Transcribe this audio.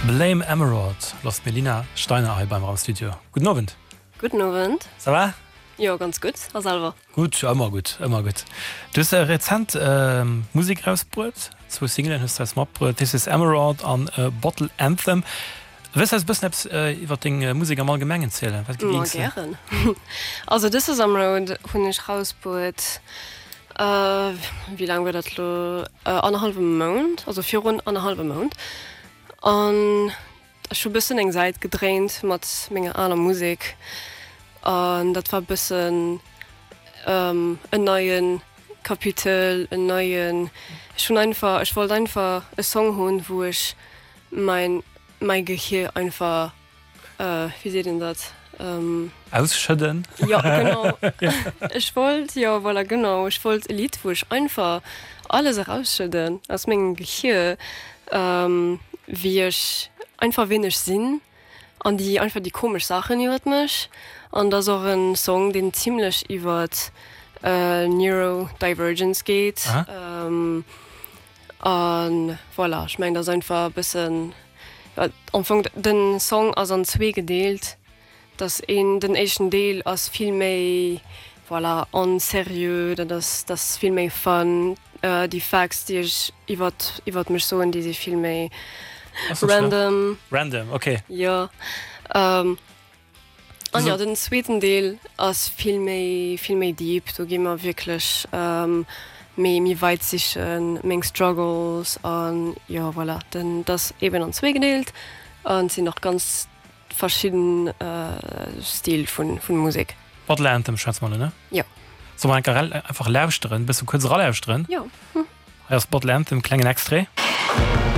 Blame Emerald lost d'Melina Steiner hei beim am Studio. Gudden Owend. Gudden Owend. Ça va? Jo, ganz gutt. A selwer? Gutt, ëmmer gutt, ëmmer gutt. Du hues rezent Musek erausbruet, zwou Singelen hues du eis matbruet, This is Emerald an Bottle Anthem. Wëlls du eis e bëssen eppes iwwer deng Musek am Allgemengen zielen? Wat Ma gären. Also This is Emerald hunn ech rausbruet, wéi laang war dat elo, annerhallwem Mount, also virun annerhallwem Mount. An ech hu bëssen eng Säit gedréint mat menger aler Musek an dat war bëssen en neie Kapitel, en neien, ech hunn einfach, ech wollt einfach e Song hunn, wou ech mäin, mäi Gehier einfach Wéi seet een dat? Ausschëdden? Jo, genau. Ech wollt, jo, voilà, genau. Ech wollt e Lidd, wou ech einfach alles erausschëdden aus mengem Gehier, wéi ech einfach, ween ech sinn an déi einfach déi komesch Saachen iwwert mech. An et ass och e Song, deen zimlech iwwert Neurodivergence geet. A voilà, ech mengen, dat ass einfach e bëssen, am Fong, den Song ass an zwee gedeelt, dass een, den éischten Deel ass vill méi, voilà, onserieux, dat ass, dat ass vill méi fun, déi Facts, déi ech iwwert, iwwert mech soen, déi si vill méi random. Random, ok. Jo. An jo, den zweeten Deel ass vill méi, vill méi deep. Do gi mer wierklech méi, méi weit sichen, meng Struggles an jo, voilà. Den, et ass eben an zwee gedeelt an et sinn och ganz verschidden Stil vun, vun Musek. Bottle Anthem schwätze mer elo, ne? Jo. Solle mer enker einfach lauschteren, bësse kuerz eralauschteren? Jo. Hei ass Bottle Anthem, klengen Extrait.